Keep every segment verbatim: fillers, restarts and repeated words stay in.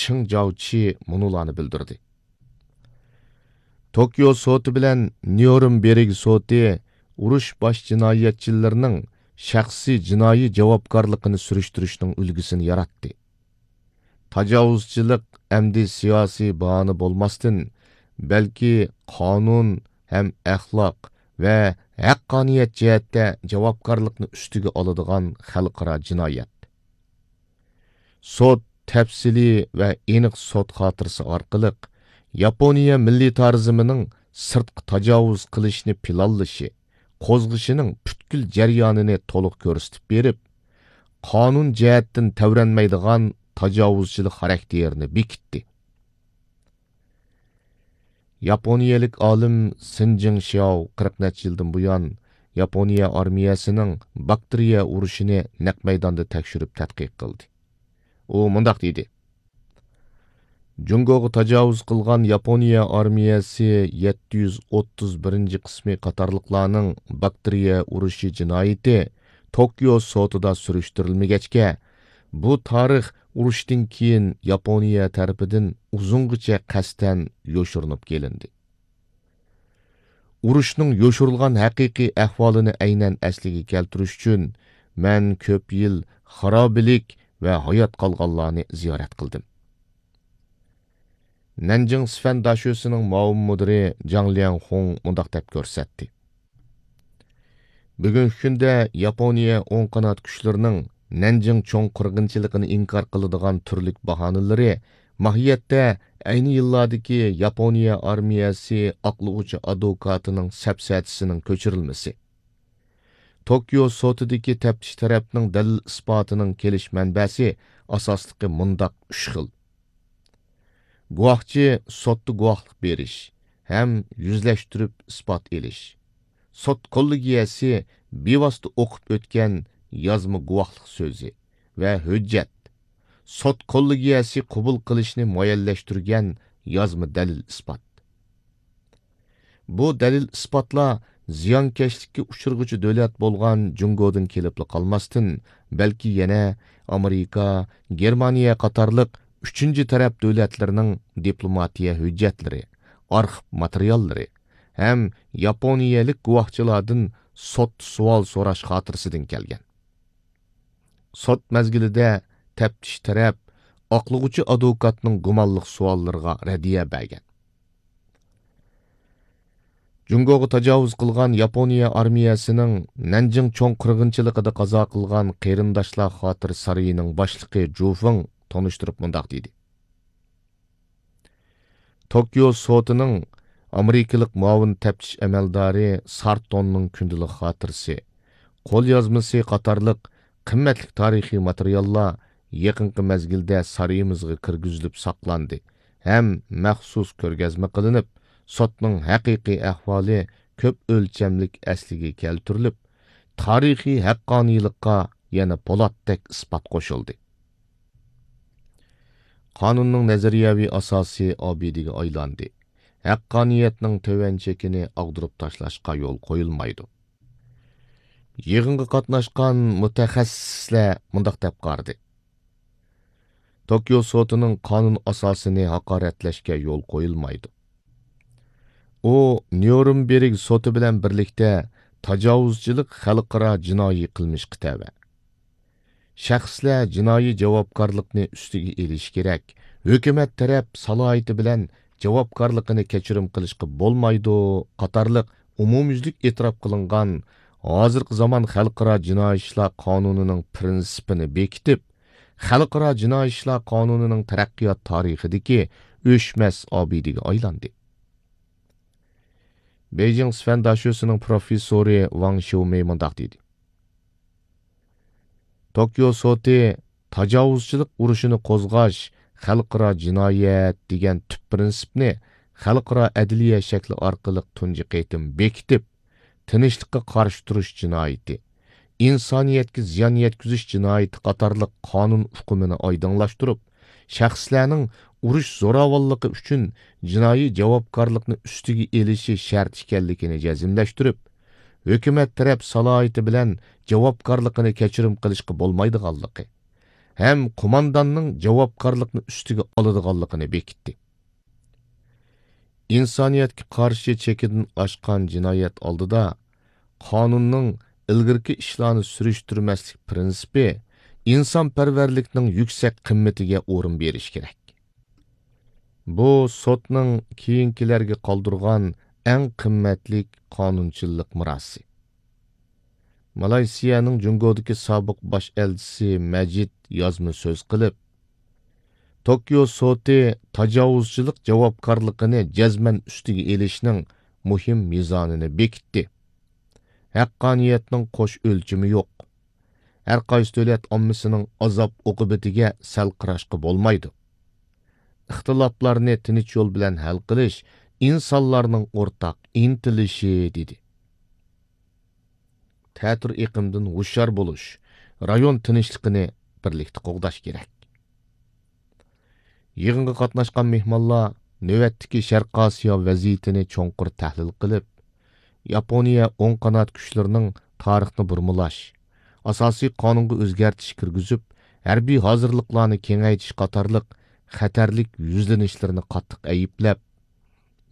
چېڭ جاۋچى مۇنۇلارنى بىلدۈردى. توكيو سوتى بىلەن نيۇرنبېرگ سوتى ئۇرۇش باش جىنايەتچىلىرىنىڭ شەخسىي جىنايى جاۋابكارلىقىنى سۈرۈشتۈرۈشنىڭ ئۈلگىسىنى ياراتتى. تاجاۋۇزچىلىق ئەمدى سىياسىي باھانە بولماستىن، بەلكى قانۇن ھەم ئەخلاق ۋە ھەققانىيەت جەھەتتە جاۋابكارلىقنى ئۈستىگە ئالىدىغان خەلقئارا جىنايەت. سوت تەپسىلىي ۋە ئېنىق سوت خاتىرىسى ئارقىلىق ياپونىيە مىللىتارىزمىنىڭ سىرتقا تاجاۋۇز قىلىشنى پىلانلىشى، قوزغىشىنىڭ پۈتكۈل جەريانىنى تولۇق كۆرسىتىپ بېرىپ، قانۇن جەھەتتىن تەۋرەنمەيدىغان تاجاۋۇزچىلىق خاراكتېرىنى بېكىتتى. ياپونىيەلىك ئالىم سىن جىڭشياۋ قىرىق نەچچە يىلدىن بۇيان ياپونىيە ئارمىيەسىنىڭ باكتېرىيە ئۇرۇشىنى نەق مەيداندا تەكشۈرۈپ تەتقىق قىلدى. ئۇ مۇنداق دېدى: جۇڭگوغا تاجاۋۇز قىلغان ياپونىيە ئارمىيەسى يەتتە يۈز ئوتتۇز بىرىنچى قىسمى قاتارلىقلارنىڭ باكتېرىيە ئۇرۇشى جىنايىتى توكيو سوتىدا سۈرۈشتۈرۈلمىگەچكە، بۇ تارىخ ئۇرۇشتىن كېيىن ياپونىيە تەرىپىدىن ئۇزۇنغىچە قەستەن يوشۇرۇنۇپ كېلىندى. ئۇرۇشنىڭ يوشۇرۇلغان ھەقىقىي ئەھۋالىنى ئەينەن ئەسلىگە كەلتۈرۈش ئۈچۈن، مەن كۆپ يىل خارابىلىك ۋە ھايات قالغانلارنى زىيارەت قىلدىم. نەنجىڭ سىفەن داشۆسىنىڭ مۇئاۋىن مۇدىرى جاڭ ليەنخۇڭ مۇنداق دەپ كۆرسەتتى: بۈگۈنكى كۈندە ياپونىيە ئوڭ قانات كۈچلىرىنىڭ نەنجىڭ چوڭ قىرغىنچىلىقىنى ئىنكار قىلىدىغان تۈرلۈك باھانىلىرى ماھىيەتتە ئەينى يىللاردىكى ياپونىيە ئارمىيەسى ئاقلىغۇچى ئادۋوكاتىنىڭ سەپسەتىسىنىڭ كۆچۈرۈلمىسى. توكيو سوتىدىكى تەپتىش تەرەپنىڭ دەلىل ئىسپاتىنىڭ كېلىش مەنبەسى ئاساسلىقى مۇنداق ئۈچ خىل. گۇۋاھچى سوتتا گۇۋاھلىق بېرىش ھەم يۈزلەشتۈرۈپ ئىسپات ئېلىش. سوت كوللېگىيەسى بىۋاسىتە ئوقۇپ ئۆتكەن يازما گۇۋاھلىق سۆزى ۋە ھۆججەت. سوت كوللېگىيەسى قوبۇل قىلىشنى مۇئەييەنلەشتۈرگەن يازما دەلىل ئىسپات. بۇ دەلىل ئىسپاتلار زىيانكەشلىككە ئۇچرىغۇچى دۆلەت بولغان جۇڭگودىن كېلىپلا قالماستىن، بەلكى يەنە ئامېرىكا، گېرمانىيە قاتارلىق ئۈچىنچى تەرەپ دۆلەتلىرىنىڭ دىپلوماتىيە ھۆججەتلىرى، ئارخىپ ماتېرىياللىرى ھەم ياپونىيەلىك گۇۋاھچىلاردىن سوت سوئال سوراش خاتىرىسىدىن كەلگەن. سوت مەزگىلىدە تەپتىش تەرەپ ئاقلىغۇچى ئادۋوكاتنىڭ گۇمانلىق سوئاللىرىغا رەددىيە بەرگەن. جۇڭگوغا تاجاۋۇز قىلغان ياپونىيە ئارمىيەسىنىڭ نەنجىڭ چوڭ قىرغىنچىلىقىدا قازا قىلغان قېرىنداشلار خاتىرە سارىيىنىڭ باشلىقى جۇ فېڭ تونۇشتۇرۇپ مۇنداق دېدى: توكيو سوتىنىڭ ئامېرىكىلىق مۇئاۋىن تەپتىش ئەمەلدارى سارتوننىڭ كۈندىلىك خاتىرىسى، قوليازمىسى قاتارلىق قىممەتلىك تارىخىي ماتېرىياللار يېقىنقى مەزگىلدە سارىيىمىزغا كىرگۈزۈلۈپ ساقلاندى ھەم مەخسۇس كۆرگەزمە قىلىنىپ، سوتنىڭ ھەقىقىي ئەھۋالى كۆپ ئۆلچەملىك ئەسلىگە كەلتۈرۈلۈپ، تارىخىي ھەققانىيلىققا يەنە پولاتتەك ئىسپات قوشۇلدى. قانۇننىڭ نەزەرىيەۋى ئاساسى ئابىدىگە ئايلاندى. ھەققانىيەتنىڭ تۆۋەن چېكىنى ئاغدۇرۇپ تاشلاشقا يول قويۇلمايدۇ. يىغىنغا قاتناشقان مۇتەخەسسىسلەر مۇنداق دەپ قارىدى: توكيو سوتىنىڭ قانۇن ئاساسىنى ھاقارەتلەشكە يول قويۇلمايدۇ. ئۇ نيۇرنبېرگ سوتى بىلەن بىرلىكتە تاجاۋۇزچىلىق خەلقئارا جىنايى قىلمىشقا تەۋە. شەخسلەر جىنايى جاۋابكارلىقنى ئۈستىگە ئېلىشى كېرەك، ھۆكۈمەت تەرەپ سالاھىيىتى بىلەن جاۋابكارلىقىنى كەچۈرۈم قىلىشقا بولمايدۇ قاتارلىق ئومۇميۈزلۈك ئېتىراپ قىلىنغان ھازىرقى زامان خەلقئارا جىنايى ئىشلار قانۇنىنىڭ پىرىنسىپىنى بېكىتىپ، خەلقئارا جىنايى ئىشلار قانۇنىنىڭ تەرەققىيات تارىخىدىكى ئۆچمەس ئابىدىگە ئايلاندى. بېيجىڭ سىفەن داشۆسىنىڭ پروفېسسورى ۋاڭ شيۇمېي مۇنداق دېدى: توكيو سوتى تاجاۋۇزچىلىق ئۇرۇشىنى قوزغاش خەلقئارا جىنايەت دېگەن تۈپ پىرىنسىپنى خەلقئارا ئەدلىيە شەكلى ئارقىلىق تۇنجى قېتىم بېكىتىپ، تىنچلىققا قارشى تۇرۇش جىنايىتى، ئىنسانىيەتكە زىيان يەتكۈزۈش جىنايىتى قاتارلىق قانۇن ئۇقۇمىنى ئايدىڭلاشتۇرۇپ، شەخسلەرنىڭ ئۇرۇش زوراۋانلىقى ئۈچۈن جىنايى جاۋابكارلىقنى ئۈستىگە ئېلىشى شەرت ئىكەنلىكىنى جەزملەشتۈرۈپ، ھۆكۈمەت تەرەپ سالاھىيىتى بىلەن جاۋابكارلىقىنى كەچۈرۈم قىلىشقا بولمايدىغانلىقى، ھەم قومانداننىڭ جاۋابكارلىقنى ئۈستىگە ئالىدىغانلىقىنى بېكىتتى. ئىنسانىيەتكە قارشى چېكىدىن ئاشقان جىنايەت ئالدىدا قانۇننىڭ ئىلگىرىكى ئىشلارنى سۈرۈشتۈرمەسلىك پىرىنسىپى ئىنسانپەرۋەرلىكنىڭ يۈكسەك قىممىتىگە ئورۇن بېرىش كېرەك. بۇ سوتنىڭ كېيىنكىلەرگە قالدۇرغان ئەڭ قىممەتلىك قانۇنچىللىق مىراسى. مالايسىيەنىڭ جۇڭگودىكى سابىق باش ئەلچىسى مەجىد يازما سۆز قىلىپ، توكيو سوتى تاجاۋۇزچىلىق جاۋابكارلىقىنى جەزمەن ئۈستىگە ئېلىشنىڭ مۇھىم مىزانىنى بېكىتتى. ھەققانىيەتنىڭ قوش ئۆلچىمى يوق. ھەر قايسى دۆلەت ئاممىسىنىڭ ئازاب ئوقۇبىتىگە سەل قاراشقا بولمايدۇ. ئىختىلاپلارنى تىنچ يول بىلەن ھەل قىلىش ئىنسانلارنىڭ ئورتاق ئىنتىلىشى، دېدى. تەتۈر ئېقىمدىن ھوشيار بولۇش، رايون تىنچلىقىنى بىرلىكتە قوغداش كېرەك. يىغىنغا قاتناشقان مېھمانلار نۆۋەتتىكى شەرقىي ئاسىيا ۋەزىيىتىنى چوڭقۇر تەھلىل قىلىپ، ياپونىيە ئوڭ قانات كۈچلىرىنىڭ تارىخنى بۇرمىلاش، ئاساسىي قانۇنغا ئۆزگەرتىش كىرگۈزۈپ، ھەربىي ھازىرلىقلارنى كېڭەيتىش قاتارلىق خەتەرلىك يۈزلىنىشلىرىنى قاتتىق ئەيىبلەپ،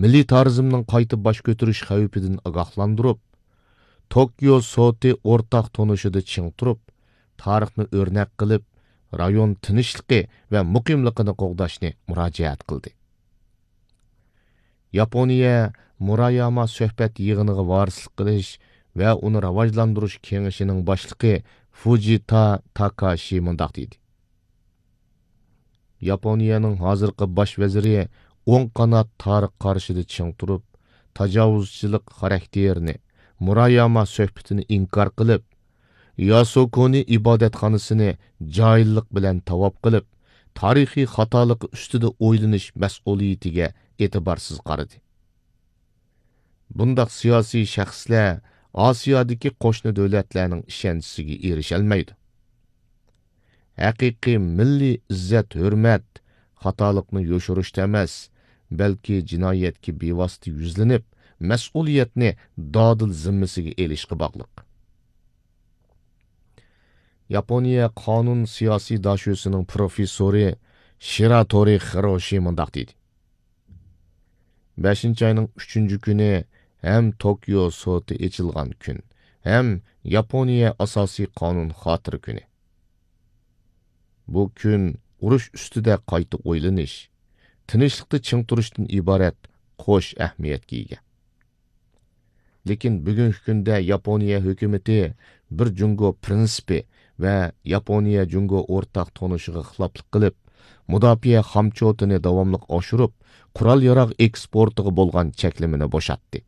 مىلىتارىزمنىڭ قايتا باش كۆتۈرۈش خەۋپىدىن ئاگاھلاندۇرۇپ، توكيو سوتى ئورتاق تونۇشىدا چىڭ تۇرۇپ، تارىخنى ئۆرنەك قىلىپ، رايون تىنچلىقى ۋە مۇقىملىقىنى قوغداشنى مۇراجىئەت قىلدى. ياپونىيە مۇراياما سۆھبەت يىغىنىغا ۋارىسلىق قىلىش ۋە ئۇنى راۋاجلاندۇرۇش كېڭىشىنىڭ باشلىقى فۇجىتا تاكاشى مۇنداق دېدى: ياپونىيەنىڭ ھازىرقى باش ۋەزىرى ئوڭ قانات تارىخ قارىشىدا چىڭ تۇرۇپ، تاجاۋۇزچىلىق خاراكتېرىنى، مۇراياما سۆھبىتىنى ئىنكار قىلىپ، ياسوكونى ئىبادەتخانىسىنى جاھىللىق بىلەن تاۋاپ قىلىپ، تارىخىي خاتالىقى ئۈستىدە ئويلىنىش مەسئۇلىيىتىگە ئېتىبارسىز قارىدى. بۇنداق سىياسىي شەخسلەر ئاسىيادىكى قوشنا دۆلەتلەرنىڭ ئىشەنچىسىگە ئېرىشەلمەيدۇ. ھەقىقىي مىللىي ئىززەت-ھۆرمەت خاتالىقنى يوشۇرۇشتا ئەمەس، بەلكى جىنايەتكە بىۋاسىتە يۈزلىنىپ، مەسئۇلىيەتنى دادىل زىممىسىگە ئېلىشقا باغلىق. ياپونىيە قانۇن سىياسىي داشۆسىنىڭ پروفېسسورى شىراتورى خىروشى مۇنداق دېدى: بەشىنچى ئاينىڭ ئۈچىنچى كۈنى ھەم توكيو سوتى ئېچىلغان كۈن، ھەم ياپونىيە ئاساسىي قانۇن خاتىرە كۈنى. بۇ كۈن ئۇرۇش ئۈستىدە قايتا ئويلىنىش، تىنچلىقتا چىڭ تۇرۇشتىن ئىبارەت قوش ئەھمىيەتكە ئىگە. لېكىن بۈگۈنكى كۈندە ياپونىيە ھۆكۈمىتى بىر جۇڭگو پىرىنسىپى ۋە ياپونىيە جۇڭگو ئورتاق تونۇشىغا خىلاپلىق قىلىپ، مۇداپىئە خامچوتىنى داۋاملىق ئاشۇرۇپ، قورال-ياراغ ئېكسپورتىغا بولغان چەكلىمىنى بوشاتتى.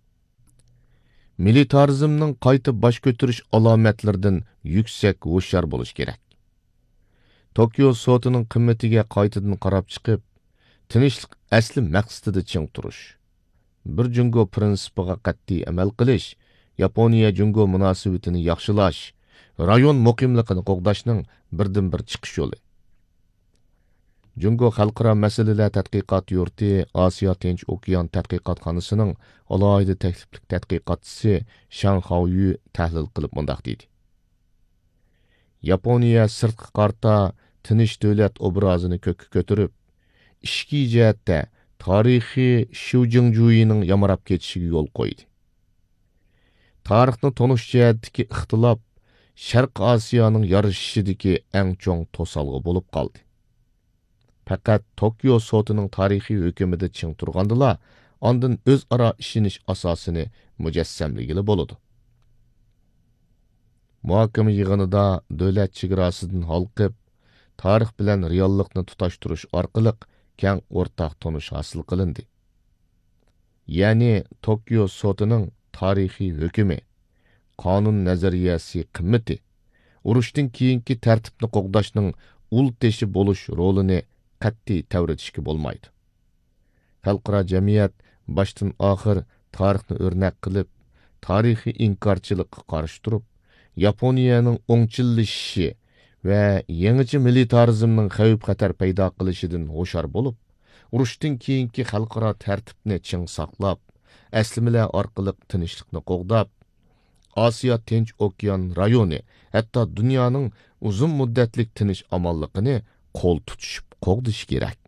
مىلىتارىزمنىڭ قايتا باش كۆتۈرۈش ئالامەتلىرىدىن يۈكسەك ھوشيار بولۇش كېرەك. توكيو سوتىنىڭ قىممىتىگە قايتىدىن قاراپ چىقىپ، تىنچلىق ئەسلى مەقسىتىدە چىڭ تۇرۇش، بىر جۇڭگو پىرىنسىپىغا قەتئىي ئەمەل قىلىش ياپونىيە جۇڭگو مۇناسىۋىتىنى ياخشىلاش، رايون مۇقىملىقىنى قوغداشنىڭ بىردىنبىر چىقىش يولى. جۇڭگو خەلقئارا مەسىلىلەر تەتقىقات يۇرتى ئاسىيا تىنچ ئوكيان تەتقىقاتخانىسىنىڭ ئالاھىدە تەكلىپلىك تەتقىقاتچىسى شاڭ خاۋيۈ تەھلىل قىلىپ مۇنداق دېدى: ياپونىيە سىرتقا قارىتا تىنچ دۆلەت ئوبرازىنى كۆككە كۆتۈرۈپ، ئىچكى جەھەتتە تارىخىي شيۇجىڭجۇيىنىڭ يامراپ كېتىشىگە يول قويدى. تارىخنى تونۇش جەھەتتىكى ئىختىلاپ شەرقىي ئاسىيانىڭ يارىشىشىدىكى ئەڭ چوڭ توسالغۇ بولۇپ قالدى. پەقەت توكيو سوتىنىڭ تارىخىي ھۆكۈمىدە چىڭ تۇرغاندىلا، ئاندىن ئۆزئارا ئىشىنىش ئاساسىنى مۇجەسسەملىگىلى بولىدۇ. مۇھاكىمە يىغىنىدا دۆلەت چېگراسىدىن ھالقىپ، تارىخ بىلەن رېئاللىقنى تۇتاشتۇرۇش ئارقىلىق كەڭ ئورتاق تونۇش ھاسىل قىلىندى. يەنى توكيو سوتىنىڭ تارىخىي ھۆكۈمى، قانۇن نەزەرىيەسى قىممىتى، ئۇرۇشتىن كېيىنكى تەرتىپنى قوغداشنىڭ ئۇل تېشى بولۇش رولىنى قەتئىي تەۋرىتىشكە بولمايدۇ. خەلقئارا جەمئىيەت باشتىن ئاخىر تارىخنى ئۆرنەك قىلىپ، تارىخىي ئىنكارچىلىققا قارشى تۇرۇپ، ياپونىيەنىڭ ئوڭچىللىشىشى ۋە يېڭىچە مىلىتارىزمنىڭ خەۋپ-خەتەر پەيدا قىلىشىدىن ھوشيار بولۇپ، ئۇرۇشتىن كېيىنكى خەلقئارا تەرتىپنى چىڭ ساقلاپ، ئەسلىمىلەر ئارقىلىق تىنچلىقنى قوغداپ، ئاسىيا تىنچ ئوكيان رايونى، ھەتتا دۇنيانىڭ ئۇزۇن مۇددەتلىك تىنچ-ئامانلىقىنى قول تۇتۇشۇپ قوغدىشى كېرەك.